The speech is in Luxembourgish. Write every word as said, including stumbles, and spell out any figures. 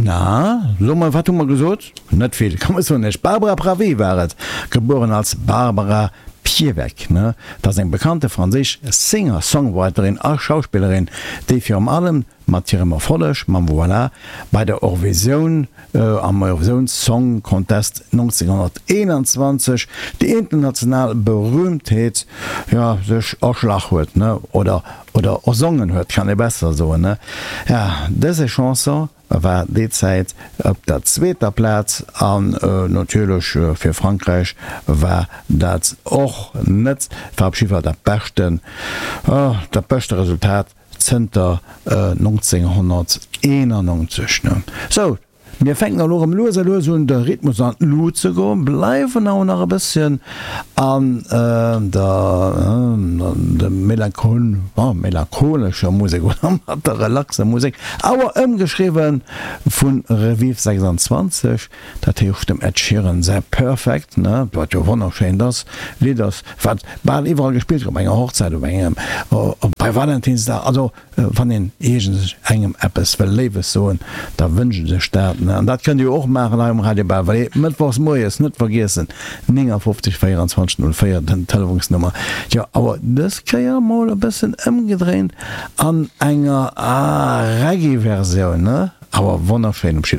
Na, so mol, wat hu mer gesot? Net vill, kann mer soen ech. Barbara Pravi war et, gebueren als Barbara Piewek, ne? Dat ass eng bekannte franséisch Singer-Songwriterin a Schauspillerin, déi virum allem mat hirem Erfolleg mam Voilà bei der Eurovisioun, am Eurovisioun Song Contest nonzénghonnerteenanzwanzeg déi international Berühmtheet, jo, sech erschlach huet, ne? Oder, oder ersongen huet, kann ee besser soen, ne? Ja, dëse Chanson war déi Zäit op der zweeter Plaz an natierlech fir Frankräich war dat och net, war op jidde Fall dat beschten, dat beschte Resultat zënter nonzénghonnerteenannonzeg. Sou, mir fänken elo erëm lues a lues un de Rhythmus an d'Lut ze goen, bleiwen awer nach e bësschen an der melancholescher Musek oder mat der relaxer Musek, awer ëmgeschriwwe vu Revive sechsanzwanzeg, dat heescht dem Ed Sheeran säi Perfect, ne, wat jo wonnerschéint ass, Lidd ass, wat bal iwwerall gespillt gëtt, op enger Hochzäit, op engem, bei Valentinsdag, also wann een iergend engem eppes wëll Léiwes soen, da wënscht en sech dat, ne. An dat kënnt Dir jo och maachen hei um Radio Belval, mëttwochs moies, net vergiessen, néngafofzeg véierundzwanzeg null véier den Telefonsnummer. Jo, awer dës Kéier mol e bëssen ëmgedréint an enger Reggae-Versioun, ne, awer wonnerschéin op jidde.